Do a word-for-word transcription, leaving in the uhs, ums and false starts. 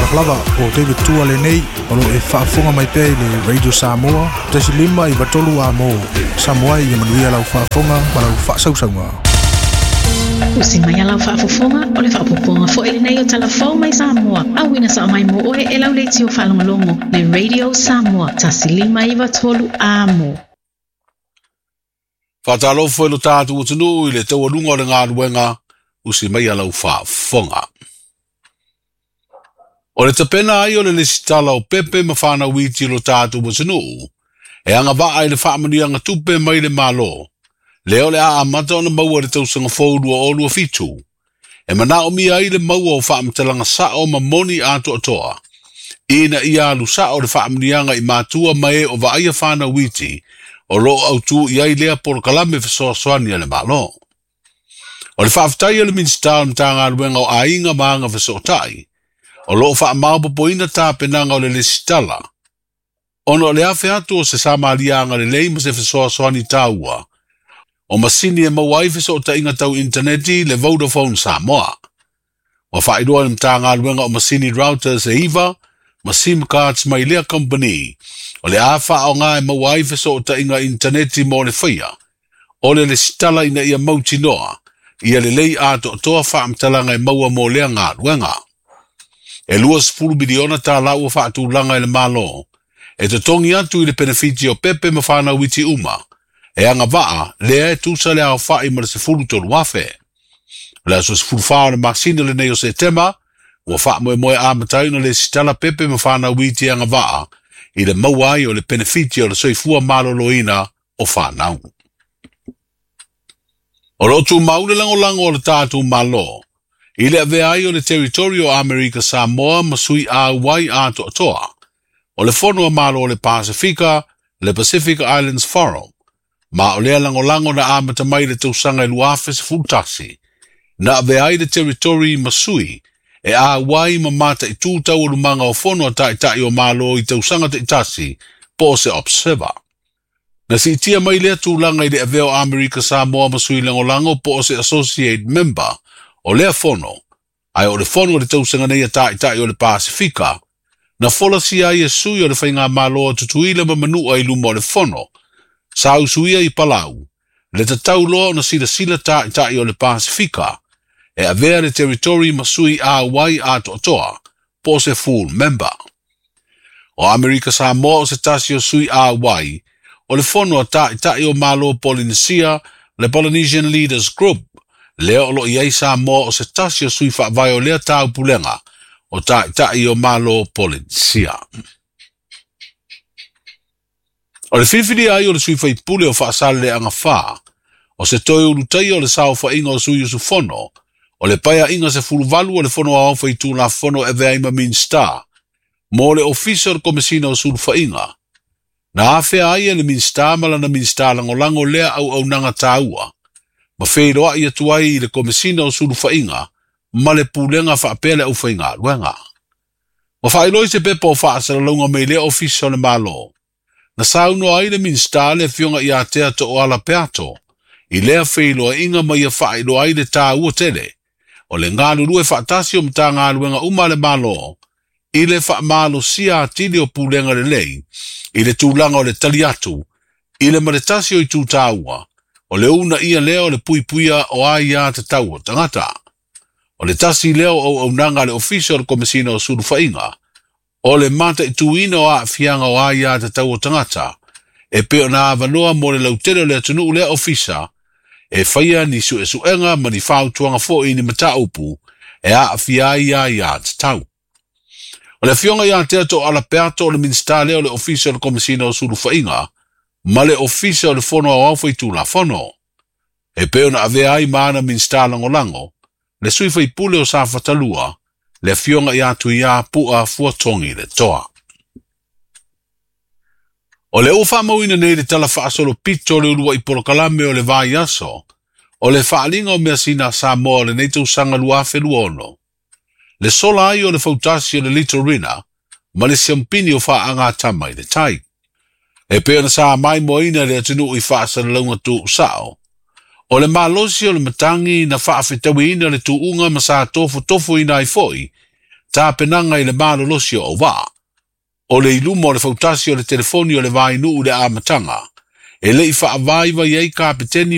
Talofa lava o David Tua lenei o lo e faafofoga mai pea i le Radio Samoa tasi lima iva tolu a mo. Samoa ia manuia lau faafofoga ma lau faasausauga. Usi mai lau faafofoga o le faapopoga foi lenei o talafou mai Samoa. Auina sa mai mo oe e lau leitio faalogologo le Radio Samoa tasi lima iva tolu amo. Faatalofa i lo tatou atunuu i le taualuga o le galuega usi mai lau faafofoga. O le tapena ai o le lesitala o pepe ma whanau iti lo tatou atunuu e agavaa i le faamanuiaga tupe mai le Malo. Lea o le a amata ona maua le tausaga fou lua o lua fitu. E manaomia ai le maua o faamatalaga sao ma moni atoatoa. Ina ia alu sao le faamanuiaga i matua ma e o vaaia whanau iti o loo autu i ai lea polokalame fesoasoani a le Malo. O le faafetai a le Minisita o le Matagaluega o Aiga ma Agafesootai, o loo faamaopopoina tapenaga o le lesitala, ona o le afe atu o se samaliaga lelei ma se fesoasoani taua, o masini e maua ai fesootaiga tau intaneti le Vodafone Samoa. Ua faailoa le Matagaluega o masini routers e iva ma SIM cards mai lea company o le a faaaoga e maua ai fesootaiga intaneti mo le faia o le lesitala ina ia mautinoa ia lelei atoatoa faamatalaga e maua mo lea galuega. E lua sefulu miliona tālā ua faatulaga e le Malo e totogi atu i le penefiti o pepe ma whanau iti uma e agavaa lea e tusa le aofa'i ma le sefulu tolu afe. O le aso sefulu whā o le masina lenei o Setema, ua faamoemoe amata ai ona lesitala pepe ma whanau iti agavaa i le maua ai o le penefiti o le soifua maloloina o whanau. O lo tumau le lagolago o le tatou Malo i le avea ai o le territory o Amerika Samoa ma sui auai atoatoa o le Fono a Malo o le Pasifika, le Pacific Islands Forum, ma o lea lagolago na amata mai le tausaga e lua afe sefulu tasi, na avea ai le territory ma sui e auai ma mataitū taualumaga o fono a taitai o Malo i tausaga taitasi po o se observer. Na siitia mai lea tulaga i le avea o Amerika Samoa ma sui lagolago po o se associate member o lea fono, ae o le fono o le tausaga nei a taitai o le Pasifika, na folasia ai e sui o le faigamalo a Tutuila ma Manua i luma o le fono, sa usuia i Palau, le tatau loa ona silasila taitai o le Pasifika, e avea le territory ma sui auai atoatoa, po o se full member. O Amerika Samoa o se tasi o sui auai, o le fono a taitai o Malo Polynesia, le Polynesian Leaders Group, lea o lo i ai Samoa o se tasi o sui faavae o lea taupulega o taitai o Malo Polynesia. O le filifili ai o le sui faipule o Faasaleleaga fa, o se toe ulutaia o le saofaiga o sui usufono, o le paeaiga sefulu valu o le Fono Aoao Faitulafono e avea ai ma Minisita, mo le Ofisa o le Komesina o Sulufaiga. Na afea ai e le Minisita ma lana Minisita lagolago lea auaunaga taua, ma feiloai atu ai i le Komesina o Sulufaiga ma le pulega faapea le aufaigaluega. Ua faailoa i se pepa o faasalalauga mai lea Ofisa o le Malo. Na saunoa ai le Minisita le afioga ia Tea Tooala Peato i lea feiloaiga ma ia faailoa ai le taua tele o le galulue faatasi o Matagaluega uma a le Malo i le faamalosia atili o pulega lelei i le tulaga o le tali atu i le maletasi o itu taua o le uunaia lea o le puipuia o aia tatau o tagata. O le tasi lea o auaunaga a le Ofisa o le Komesina o Sulufaiga o le mataituina o aafiaga o aia tatau o tagata e pei ona avanoa mo le lautele o le atunuu lea ofisa e faia ni suesuega ma ni fautuaga foi ni mataupu e aafia ai aia tatau. O le afioga ia Tea Tooala Peato o le Minisita lea o le Ofisa o le Komesina o Sulufaiga ma le Ofisa o le Fono Aoao Faitulafono. E pei ona avea ai ma ana Minisita lagolago, le sui faipule o Safatalua, le afioga ia Tuia Pu'a Fuatogi le Toa. O le ua faamauina nei le tala faasolopito o le uluai polokalame o le vaiaso, o le faaaliga o measina a Samoa o lenei tausaga lua afe lua ono. Le sola ai o le fautasi o le Litorina ma le siampini o faagatama i le tai. E pei ona sa maimoaina le atunuu i faasalalauga tuusao. O le malosi o le matagi na faafetauiina le tuuga ma sa tofotofoina ai foi, Tapenaga i le malolosi o auvaa. O le iluma o le fautasi o le telefoni o le vainuu i le amataga. E le i faavaivai ai kapeteni.